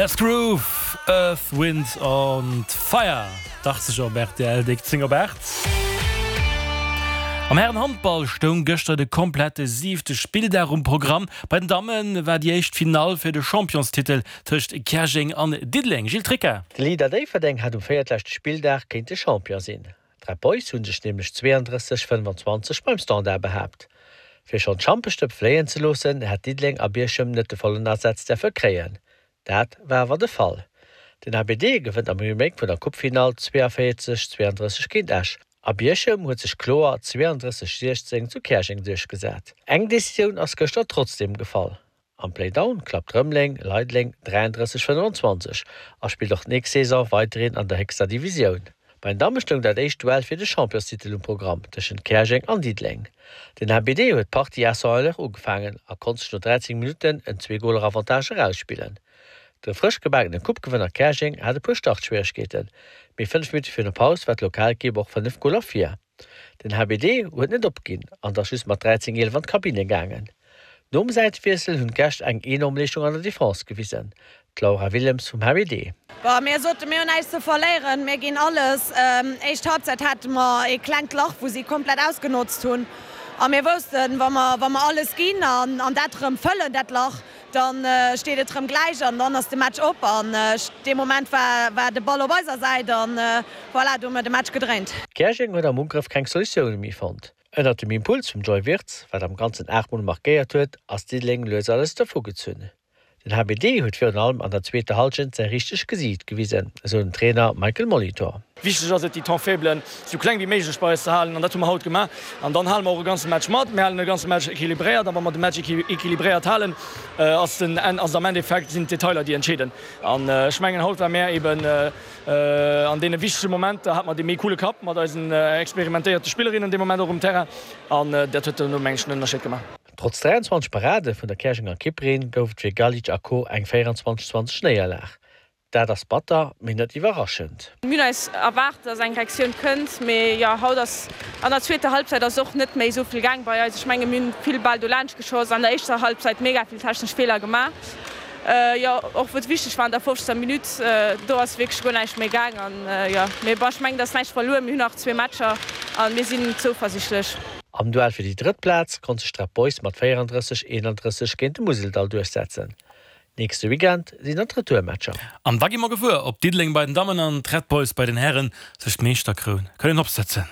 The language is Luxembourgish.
Let's Groove, Earth, Wind and Fire, 80 op rtl, déck 10 op 8. Am Hären-Handball stoung gëschter de komplette siwte Spilldag um Programm. Bei den Damme war déi éischt Finall fir de Championstitel tëscht Käerjeng an Diddeleng. Gilles Tricca. De Leader Déifferdeng hat um véiertleschte Spilldag kéinte Champion sinn. D'Red Boys hu sech nämlech 32, 25 beim Standard behaapt. Fir schonn d'Champestëpp fléien ze loossen, hätt Diddeleng a Bierchem net de vollen Asaz däerfe kréien. Dat war awer de Fall. Den HBD gewënnt am Remake vun der Coupefinall 42, 32 géint Esch a Bierchem huet sech kloer 32, 16 zu Käerjeng duerchgesat. Eng Decisioun ass gëschter trotzdeem gefall. Am Playdown klappt Rëmeleng Leideleng 33, 25 a spillt och d'nächst Saison weiderhin an der héchster Divisioun. Bei den Damme stoung dat éischt Duell fir de Championstitel um Programm tëschent Käerjeng an Diddeleng. Den HBD huet d'Partie à sans heure ugefaangen a konnt sech no 13 Minutten en Zwee-Goler-Avantage erausspillen. De frësch gebakene Coupe-Gewënner Käerjeng hat e puer Startschwieregkeeten, mee 5 Minutte virun der Paus war d'Lokalekipp och 5 Goler vir. Den HBD huet net opginn an ass just mat 13, 11 an d'Kabinne gaangen. Nom Säitewiessel hunn d'Gäscht eng enorm Leeschtung an der Defense gewisen. D'Laura Willems vum HBD. Bon, mir soten, mir hunn näischt ze verléieren, mir ginn alles. Éischt Halbzeit hate mer ee klengt Lach, wou si komplett ausgenotzt hunn. A mir woussten, wa mer, wa mer alles ginn an dat erëm fëllen, dat Lach, da steet et erëm gläich an dann ass de Match op. An dee Moment war, war de Ball op eiser Säit an voilà, do hu mer de Match gedréint. Käerjeng huet am Ugrëff keng Solutioune méi fonnt. Ënnert dem Impuls vum Joy Wirtz, wat am Ganzen 8 Mol markéiert huet, ass Diddeleng lues a lues dervu gezunn. Den HBD huet virun allem an der zweeter Hallschent säi richtegt Gesiicht gewisen, esou den Trainer Michael Molitor. Wichteg ass et, déi Temps faiblen esou kleng wéi méiglech bei eis ze halen an dat hu mer haut gemaach. An dann hale mer och e ganze Match mat. Mir halen e ganze Match equilibréiert a wa mer de Match equilibréiert halen, ass den ass am Endeffekt sinn d'Detailer déi entscheeden. An ech mengen haut war mär eben an deene wichtege Momenter hat mer dee méi coole Kapp mat eisen experimentéierte Spillerinnen dee Moment och um Terrain an dat huet duerno meng ech den Ënnerscheed gemaach. Trotz 23 Parade vun der Käerjenger Kipperin gouf et fir Galic a Co eng 24, 20 Néierlag. Dat ass batter, mee net iwwerraschend. Mir hunn eis erwaart, dass eng Reaktioun kënnt, mee jo, haut ass an der zweeter Halbzeit ass och net méi esou vill gaang bei eis. Ech menge mir hunn vill Bäll dolaanscht geschoss, an der éischter Halbzeit mega vill technesch Feeler gemaach. Jo, och wou et wichteg war an der 50. Minutt, do ass wierklech guer näischt méi gaang. An jo, mee bon, ech mengen, et ass näischt verluer. Mir hunn nach zwee Matcher a mir sinn zouversichtlech. Am Duell fir déi drëtt Plaz konnt sech d'Red Boys mat 34, 31 géint de Museldall duerchsetzen. Nächste Weekend sinn dann d'Retourmatcher. An da gi mer gewuer, ob Diddeleng bei den Dammen an d'Red Boys bei den Hären sech d'Meeschterkroun kënnen opsëtzen.